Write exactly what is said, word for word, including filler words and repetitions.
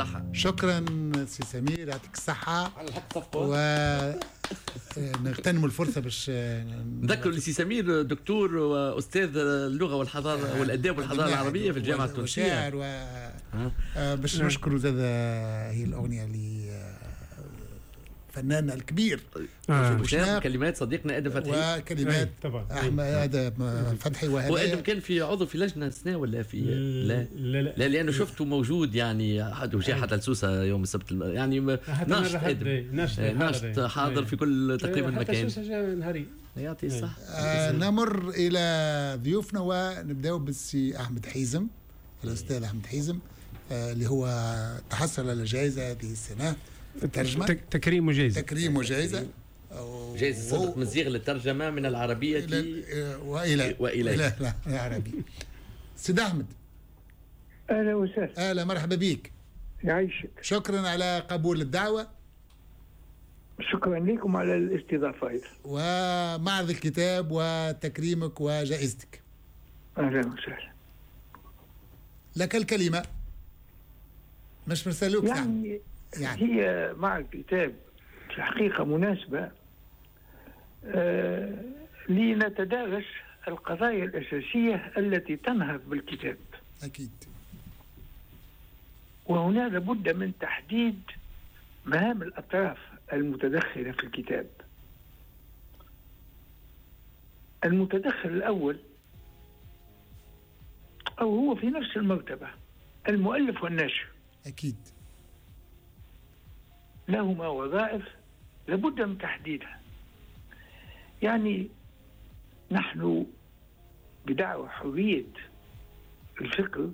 الصحة. شكرا سي سمير، يعطيك الصحة. على الحق صفقة. و نغتنم الفرصة باش نذكر لسي سمير دكتور وأستاذ اللغة والحضارة والآداب والحضارة العربية في الجامعة التونسية. وشاعر و باش نشكروا زاد هي الأغنية اللي فنان الكبير آه. كلمات صديقنا ادم فتحي وكلمات طبعا احمد ادم فتحي. وهذا وادم كان في عضو في لجنة السنة ولا في لا لا لا, لا لانه شفته موجود يعني حد وجاء حتى لسوسه يوم السبت، يعني ناشط ادم، ناشط حاضر في كل تقريبا مكان. حتى سوسة نهاري يعطي الصحة. آه نمر الى ضيوفنا ونبداو بالسي احمد حيزم، الاستاذ احمد حيزم آه اللي هو تحصل على جائزة هذه السنة في الترجمة، تكريم وجائزة، تكريم وجائزة، جائزة صدق مزيغ للترجمة من العربية وإلى وإلى لا العربية. سيد أحمد، أهلا وسهلا. أهلا، مرحبا بك. يعيشك. شكرا على قبول الدعوة. شكرا لكم على الاستضافة أيضا. ومعرض الكتاب وتكريمك وجائزتك. أهلا وسهلا. لك الكلمة. مش مرسلوك يعني يعني هي مع الكتاب في الحقيقة مناسبة آه لنتدارس القضايا الأساسية التي تنهض بالكتاب. أكيد. وهنا لابد من تحديد مهام الأطراف المتدخلة في الكتاب. المتدخل الأول أو هو في نفس المرتبة المؤلف والناشر. أكيد. لهما وظائف لابد من تحديدها. يعني نحن بدعوى حرية الفكر